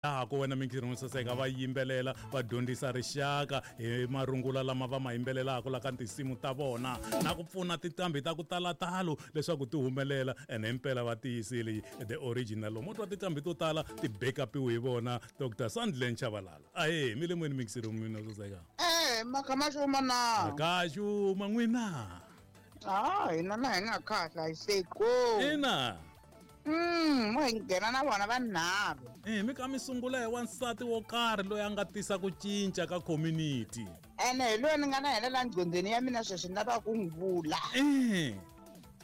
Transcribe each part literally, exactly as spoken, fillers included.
Ku wena mintirho saseka va yimbelela va dyondzisa rixaka hi marungula lama va ma yimbelelaka la ka tinsimu ta vona na ku pfuna tinqambi ta ku tala talo leswaku ti humelela ene himpela va tiyisile the original lomu twa tinqambi to tala ti backupiwe hi vona Doctor Sandlen Chabalala. Ahe mi le moyeni mixero mina saseka. Eh makamaxuma na. Makaxuma n'wina. Ah hina na hi nga khahla hi seko. Ina. Mm, mo hi nghena na vona vanharhu. Eh mi ka mi sungula hi wansati wo karhi loyi a nga tisa ku cinca ka community. Ene hi loyi ni nga na yena la nqondweni ya mina sweswi ni lava ku n'wi vula. Eh.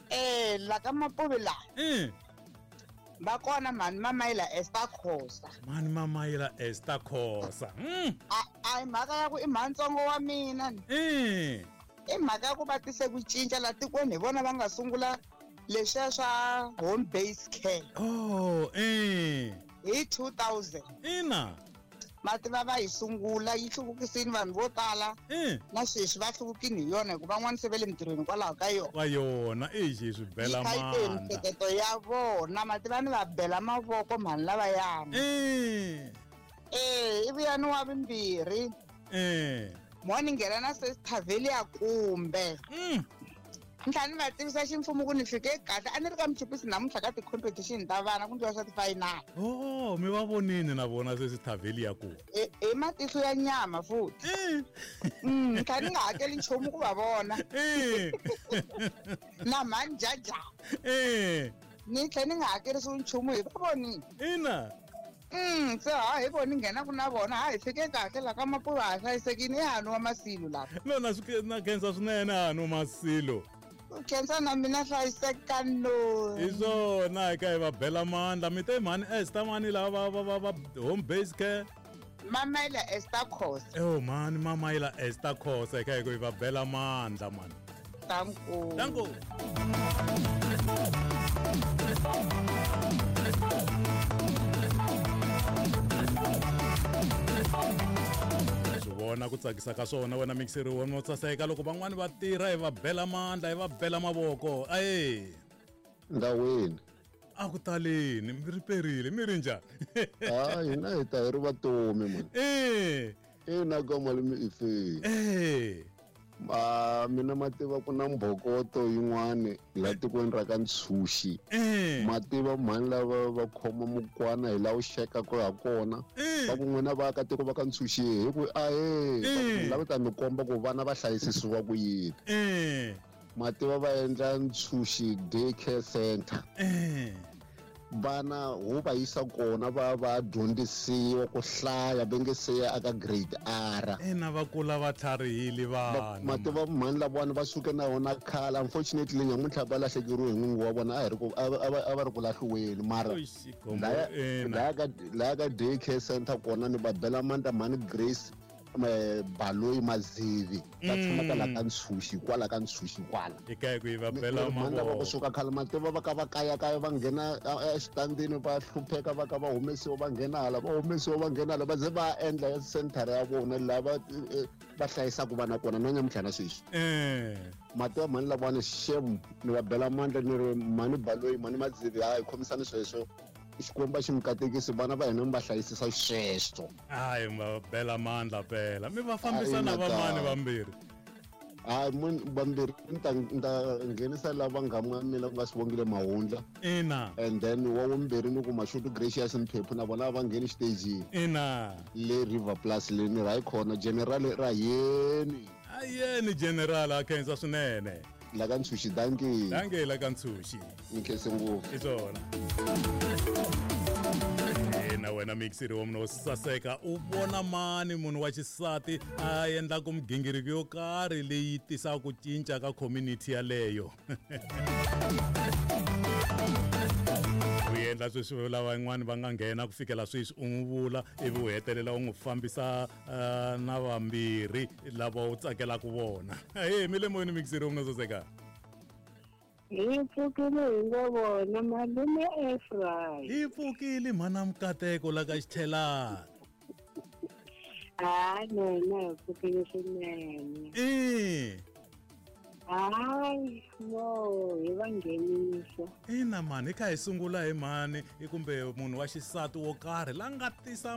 Eh la ka Mapuve la. Eh. Va kona mhani Mamayila Esther Khosa. Mhani Mamayila Esther Khosa. Mm. A a hi mhaka ya ku i mhantsongo wa mina. Eh. I mhaka ya ku va tise ku cinca la tikweni hi vona va nga sungula leswiya swa home based care. Oh, eh. Hi two thousand. Ina. Mativa va yi sungula yi hluvukisini vanhu vo tala. Eh. Na sweswi va hluvukini hi yona hikuva van'wana se va le mintirhweni kwalaho ka yona. Ka yona i xi swi bela mandla. Miehleketo ya vona mativa ni va bela mavoko mhani lavayana. Eh. Eh, i vuyani wa vumbirhi. Eh. Mo ni nghena na Sister Velia kumbe. Mm. Ntlhanu va tivisa ximfumo ku ni fike kahle a ni ri ka Mchipisi namuntlha ka ti-competition ta vana ku ndliwa swa ti-final. Oh, mi va vonini na vona Sister Velia ku. E hi matihlo ya nyama futhi. Eh. Mm, ntlhanu ni nga hakeli nchumu ku va vona. Eh. Na mhani Jaja. Eh. Ni tlhela ni nga hakerisiwi nchumu hi va vonini. Ina. Mm, se ha hi voni nghenaku na vona ha hi fike kahle la ka Mapuve ha hlayisekile i hanu wa Masilo lapha. No na swi na khensa swinene hanu Masilo. Khensa na mina hlayiseka no. Hi swona hi ka hi va bela mandla mi te mhani Esther mani lava va va va home based care. Mamayila Esther Khosa. Oh mhani Mamayila Esther Khosa hi ka hi ku hi va bela mandla mani. Danko. Danko. Vona ku tsakisa ka swona wena mixeri wa mo tsaseka loko van'wani va tirha hi va bela mandla hi va bela mavoko aye ndawini a ku taleni mi ri perile mi ri njhani ah hina hi ta hi ri vatomi mani eh ina ka malume ife eh ma mina mativa ku na mbhokoto yin'wani la tikweni ra ka Ntshuxi mativa mhani lava va khoma mukwana hi la wu xekaka ha kona va ku n'wina vaakatiko va ka Ntshuxi hi ku ahe lava ta mi komba ku vana va hlayisisiwa ku yini mativa va endla Ntshuxi day care center vana ho va yisa kona va va dyondzisiwa ku hlaya va nge se ya aka grade R ina va kula va tlharihile vana mativa mhani lavawani va suke na wona khale unfortunately nyamuntlha va lahlekeriwe hi n'wingi wa vona a hi ri ku a va ri ku lahliweni mara laya ka laya ka day care center kona ni va bela mandla mhani Grace Baloyi Mazivi va tshama ka la ka Ntshuxi kwala ka Ntshuxi kwala eka ku va bela mavoko va kusuka khale mativa va ka va kaya kaya va nghena exitandini va hlupheka va ka va humesiwa va nghena hala va humesiwa va nghena hala va ze va endla ya center ya vona lava va hlayisaka vana kona na nyamuntlha na sweswi eh mativa mhani lavawani shem ni va bela mandla ni ri mhani Baloyi mhani Mazivi hayi khomisani sweswo Xikwembu xi mi katekisi vana va hina mi va hlayisisa sweswo hayi mi va bela mandla phela mi va fambisa na vamani vambirhi hayi mun vambirhi ni ta ni ta nghenisa lava nghamu ya mina ku nga Sibongile Mahundla ina and then wa vumbirhi ni ku Mashudu Gracious Mphephu na vona va ngheni xitejini ina le River Plus le ni ra yi khona general ra yeni ayeni general a khensa swinene la ka Ntshuxi dankie dankie la ka Ntshuxi ni khense ngopfu hi swona na wena mixeri wa munhu wo saseka u vona mani munhu wa xisati a endlaku migingiriko yo karhi leyi tisaka ku cinca ka community yaleyo u endla sweswi lava van'wani va nga nghena ku fikela sweswi u n'wi vula ivi u hetelela u n'wi fambisa na vambirhi lava u tsakelaka vona he mi le moyeni mixeri wa munhu wo saseka Hi pfukile hi nga vona malume Efraim. Hi pfukile mhana Mukateko la ka Xithelana. Ah, no, no, pfukile swinene. Eh. Hayi, mo hi va nghenisa. Ina mhani, hi kha hi sungula hi mhani i kumbe munhu wa xisati wo karhi la nga tisa